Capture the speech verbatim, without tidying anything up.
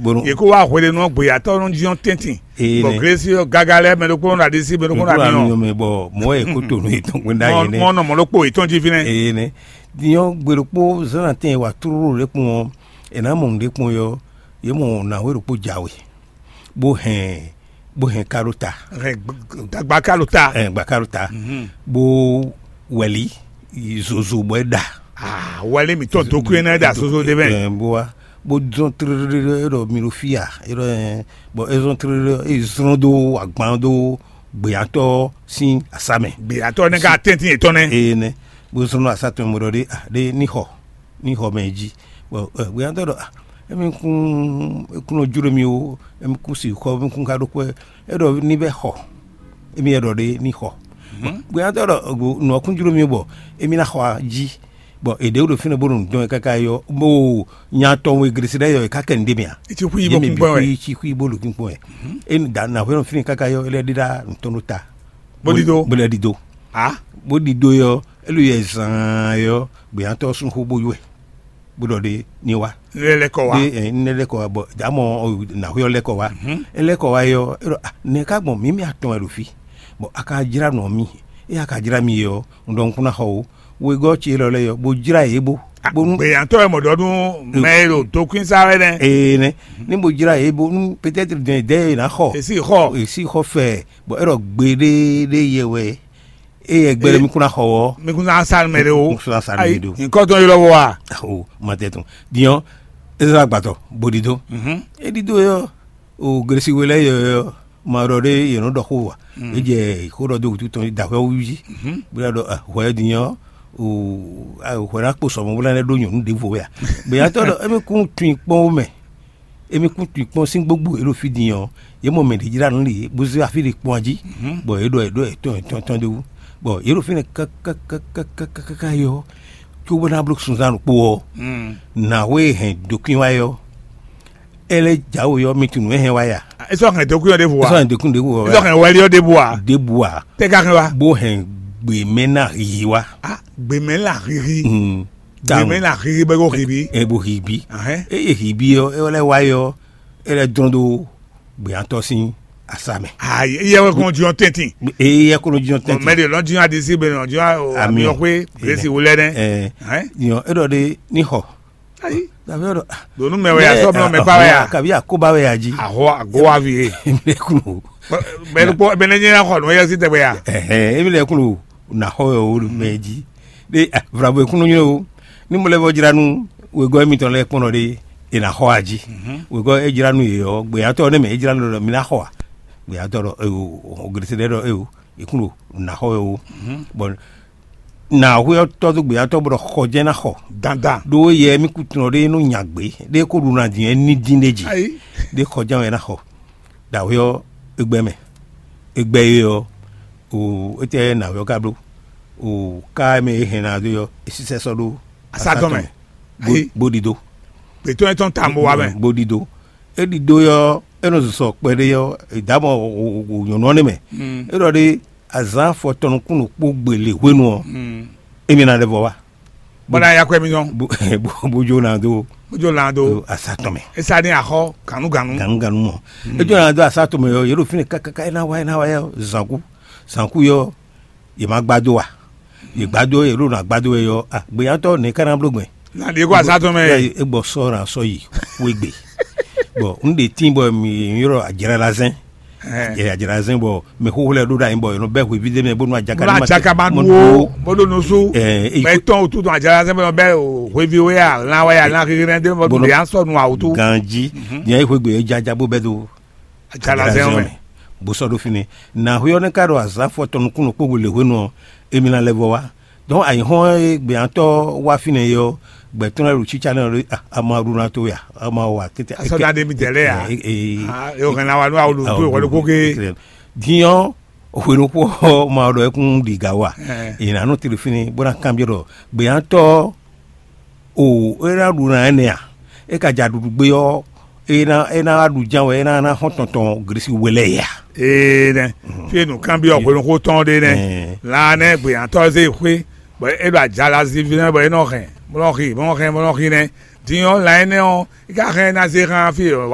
Bónú yě kó wá hweɖénu ɔ́, gbeyatɔ́ nɔ jí ɔ́ tɛ́ntin. Ee bɔ nɛ́. Glesi ɔ́ gaga lɛ́ɛ mɛ ɖokpónɔ ɖo aɖisí, mɛ ɖokpónɔ ɖo amyɔ. Mɛ bɔ mɔ̌ wɛ kó to nú yětɔn gbɛ́ ɖ'ayǐ nɛ́. Mɔ nɔ mɔ̌ ɖokpó yětɔn jí fínɛ́. Ee nɛ́. Din ɔ́, gbe ɖokpó zán atɛn e wa tlóló ɖě kpɔn ɔ́, è nǎ mɔ nǔɖé kpɔn ɔ́, yě mɔ nǎwe ɖokpó jǎwe, bó hɛn bó hɛn ká ɖó ta. Hɛn gb- dagba ká ɖo ta. Ɛ gbaka ɖo ta, bó wɛli zozo bɔ é ɖa. Ah, wɛli mǐtɔn dó kú énɛ́ ɖa zozo ɖé mɛ. Ɛ bó wá bó zɔn tlélélé é ɖɔ mi ɖo fí a é ɖɔ ɛ bɔ é zɔn tlélélé é zlɔ́n dó agban dó gbeyatɔ́ sín asá mɛ. Gbeyatɔ́ nɛ́ ká tɛ́ntin yětɔn nɛ́. Eye nɛ́ bó zlɔ́n asá tɔn mɛ bó ɖɔ ɖé ah ɖé ní xɔ ní xɔ mɛ jí. Bɔ gbeyatɔ́ ɖɔ ah émi kún é kún nɔ jló mi ó, émi kún si xɔ émi kún ka ɖó kpɛ́ é ɖɔ ní bɛ́ xɔ émi é ɖɔ ɖé ní xɔ. Gbeyatɔ́ ɖɔ nǔ ɔ́ kún jló mi bɔ émi ná xɔ jí. Bɔ è ɖě ɖo fínɛ́ bó ɖo nǔ dɔn wɛ káká yɔ bó nya tɔn we glesi ɖɛ́ yɔ è ká kɛ nǔɖé mɛ a? Etí xwí bó kún kpɔ́n wɛ. Etí xwí bó ɖo kún kpɔ́n wɛ. É da nǎ hwɛ nɔ fínɛ́ káká yɔ é lɛ́ ɖíɖá nǔ tɔn ɖó ta. Bó ɖidó. Bó lɛ́ ɖidó. A bó ɖidó yɔ é ló yɛ zaan yɔ gbeyatɔ́ sún xó bó yɔ́ ɛ bó ɖɔ ɖé ní wá. Lɛ lɛ kɔ wá. Ɖé ɛ ní lɛ kɔ wá bɔ dǎmɔ nǎhwɛ ɔ́ lɛ kɔ wá. É lɛ kɔ wá yɔ é ɖɔ ah nɛ̌ ká gbɔn mǐ mɛ atɔn wɛ ɖo fí bɔ a ka jlá nɔ mì é a ka jlá mi yɔ un ɖɔ un kún ná xɔ o wegɔ́ ce élɔ́ lɛ́ɛ yɔ bó jlá yě bó. Bónú Gbeyǎntɔ́ wɛ mɔ̌ ɖɔ nú mɛ e ɖo tokwínsá wɛ nɛ́. Ee nɛ́ ní bó jlá yě bónú peut-être dɛn dɛ́ e ná xɔ Èsì xɔ. Èsì xɔ fɛ bɔ é ɖɔ gbeɖéɖé yɛ wɛ é yɛ gbɛɖe mi kún ná xɔ ɔ́. Mi kún ná sa nú mɛ ɖé o. Kún ná sa nú mɛ ɖé o. Nyǐkɔ tɔn ylɔ́ wɔ a? O ma tɛ tɔn dinyɔ ezra gbatɔ bó ɖidó. É ɖidó yɔ o glesi we lɛ́ɛ yɔ yɔ ma ɖɔ ɖé yě nɔ ɖɔ xó wa. É jɛ xó ɖɔ dó wútu tɔn da hwɛ wú jí bó ná ɖɔ hwɛ dinyɔ o hwɛ ná kpo sɔmɔ bó ná ɖó nyɔ̌nu ɖěvo wɛ a. Gbeyatɔ ɖɔ émi kún tun kpɔn wo mɛ. Émi kún tun kpɔn sín gbógbó e ɖo fí din ɔ́, yě mɔ mɛ ɖě jlá nǔ lě bó zé afí ɖé kpɔ́n jí, bɔ yě ɖɔ yě ɖɔ yě tɔn yě tɔn tɔn ɖé wú, bɔ yě ɖo fínɛ́ kákákákákáká yɔ, cóbó ná bló sunzán ɖokpó ɔ́, nǎwe e hɛn dǒkwín wá yɔ, é lɛ́ jǎwe ɔ́, mi tunwun é hɛn wá ya. É sɔ́ hɛn dǒkwín ɔ́ ɖěvo É sɔ́ ǎ. Hɛn dǒkwín ɖěvo É sɔ́ hɛn wɛli ɔ́ ɖěvo ǎ. Ɖěbǔ ǎ, Tɛ́ ka hɛn wá? Bó hɛn gběmɛ ná hihi wá. Ah, gběmɛ là hihi. Mm. Gběmɛ là hihi bɛ ko hibi. Ebo hibi. Ahɛn. Eye hibi ɔ́, é lɛ́ wá yɔ, é lɛ́ dɔn ɖó gbeyatɔ sín asa mɛ. Ayi, iye wɛ kɔn jiyɔn tɛntin. Eye kɔnɔ jiyɔn tɛntin. Mɛ de lɔn jiyɔn adisi bɛ lɔn jiyɔn ami ɔxwe Grace wulɛ nɛ. Ɛɛ. Ɛn. Yɔ, e ɖɔ de ni xɔ. Ayi. Davi ɖɔ. Donu mɛ wɛ ya sɔ mɛ mɛ pa wɛ ya. Kabi akoba wɛ ya ji. Ahɔ agowa vi ye. Mɛ kulo. Mɛ kpɔ mɛ ne nyɛ xɔ nɔ yɛ si tɛ wɛ ya. Ɛhɛn, emi lɛ kulo na xɔ yɔ wo mɛ ji. De vrabo ekunu nyɔ o. Ni mo lɛ bɔ jra nu wegɔ emitɔn lɛ kpɔnɔ de e na xɔ aji. Wegɔ e jra nu ye ɔ gbeyatɔ ne mɛ e jra nu lɔ mi na xɔ a. Gbeyatɔ lɔ eyo o gresede lɔ eyo ekunu na xɔ yɔ o. Bɔn na xɔ yɔ tɔ do gbeyatɔ bɔ xɔ jɛ na xɔ. Dandan. Ɖó yɛ mi kutunɔ ɖe nɔ nya gbe ɖe ko ɖu na din ni din ɖe ji. Ayi. Ɖe xɔ jɛ wɛ na xɔ. Ɖawé ɔ́, é gbɛ́ mɛ. É gbɛ́ é ɔ́, o étɛ́ nǎwe ɔ́ ka bló? O ká mɛ é hɛn ná dó ɔ́, é sísɛ́ sɔ́ ɖó Asá tɔn mɛ. Bó- Ayi. Bó ɖidó. Gbětɔ́ yɛn tɔn ta mo wa mɛ. Bó ɖidó. É ɖidó ɔ́, é nɔ zɔzɔ kpɛɖé ɔ́, é dǎ mɔ nyɔ̌nu ɔ́ nɛ́ mɛ. É ɖɔ ɖé azǎn afɔtɔn nukún ɖokpó gbele hwenu ɔ́, émi ná lɛ́ vɔ wá. Bɔla ya kɔ emi nɔ. Bó bó- bó jó na dó Ojo lan do. Asatɔmɛ. Esa ni axɔ ganu ganu. Ganu ganu mɔ. Ejó na dó asatɔmɛ yɔ yɛ ɖo fínɛ kakaka ena wa ena wa yɛ zanku zanku yɔ yɛ ma gbado wa yɛ gbado yɛ ɖo na gbado yɛ yɔ a gbeyantɔ ne kana blo gbɛ. Na de ko asatɔmɛ. Egbɔ sɔ na sɔ yi wegbe. Bɔn n de tin bɔ mi yɔrɔ adzra la zɛn. Ɛ adzra zɛn bɔ mɛ xoxo lɛ ɖo ɖa yin bɔ yɔnɔ bɛ hwevi de mɛ bonu adzaka Bonu adzaka ma ɖu wo bonu nusu. Ɛ Mɛ etɔn otu tɔn adzra zɛn bɔ bɛ hwevi wo ya lan wa ya lan xixi nɛ de bɔ Bonu de an sɔ nu awotu. Ganji diɛ yi hwegbe e jaja bo bɛ do Adzra zɛn mɛ. Bo sɔ ɖo fini na hwe ɔ ne ka ɖo azan fɔ tɔn nukun nukpo le hwenu ɔ emi na lɛ vɔ wa. Donc ayǐhɔ́n e gbeyǎntɔ́ wá fínɛ́ é ɔ́, gbɛ̌ tɔn lɛ́ɛ ɖo cícá nɛ́ ɔ́ ɖé, ah, ama ɖu ná towe a? Ama wa tete. Asɔ́dá ɖé mi tɛ̌ lɛ́ɛ a? Ee, ee. Ah, e o hɛn na wa nú awu ɖo tó ìwọ ɖokpó ké. Din ɔ́, hwenu kpó ɔ́, ma ɖɔ é kún ɖi gǎ wa. Ɛ. È nǎ nɔ tlɛ fínɛ́ bó ná kanbyɔ́ ɖɔ gbeyǎntɔ́ o é ná ɖu ná énɛ́ a? É ka ja ɖuɖu gbé ɔ́, é ná é ná wá ɖu ján wɛ é ná ná xɔ́n tɔn tɔn glisi we lɛ́ɛ ya. Ee nɛ. Fie nu kanbyɔ hwenu xó tɔn ɖé nɛ. Ɛɛ. La nɛ gbeyantɔ zé xwé bɔ é ɖo ajala zivi nɛ bɔ é nɔ hɛn bɔ nɔ xi bɔ nɔ hɛn bɔ nɔ xi nɛ. Din ɔ́ la énɛ́ ɔ́ é ka hɛn ná zé xán fí wa